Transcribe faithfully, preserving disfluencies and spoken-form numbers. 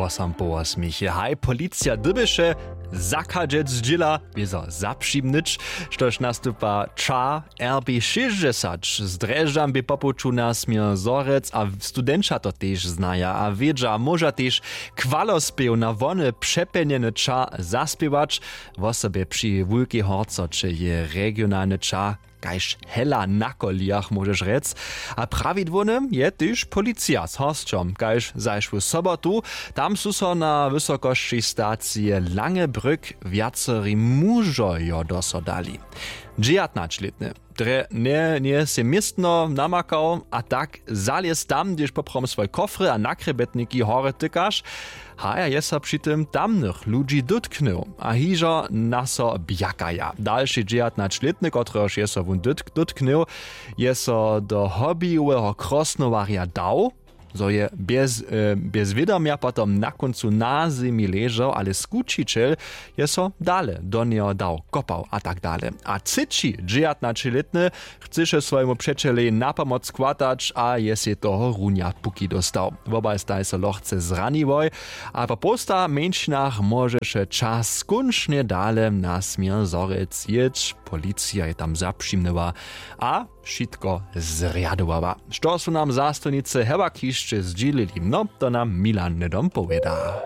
Wosam po wosmich je haj policija dyrbješe zachadźec zdźěla wězo zapřimnyć, štož nastupa ča. Rb šěsćdźesać z drježdźam bě popołču na směr zhorjec a studenća to tež znaja a wědźa a móža tež chwalospěw na wony přepjenjeny ča zaspěwać, wosebje při wulkej horcoće je regionalny ča kaž hela na kolijach móžeš rjec. A prawidłowny je tež policija z hosćom kaž zašłu sobotu. Tam su so na wysokosći stacije lange brück wjaceri mužojo do so dali. Dźejatnaćlětny drje nje njeje sej městno namakał a tak zalěz tam hdyž poprawom swój kofry a nakrjebetniki horje tykaš. Haja je so při tym tamnych ludźi dótknył a hižo na so bjakaja dalši dźejatnaćlětny kotrehož je so wón dótknył, je so do hobbyjoweho krosnowarja dał, zo je bjez wědomja potom na kóncu na zemi ležał ale skućićel je so dale do njeho dał kopał a tak dale. A třeći dźejatnaćelětny chcyše swojemu přećelej na pomoc chwatać a je sej toho runja puki dóstał. Wobaj staj so lochce zraniłoj a po połsta mjeńšinach móžeše čas skónčnje dale na směr zhorjec jěć. Policija je tam zapřimnyła a wšitko zrjadowała. Što su nam zastojnicy hewak hišće zdźělili, no to nam milan hnydom powěda.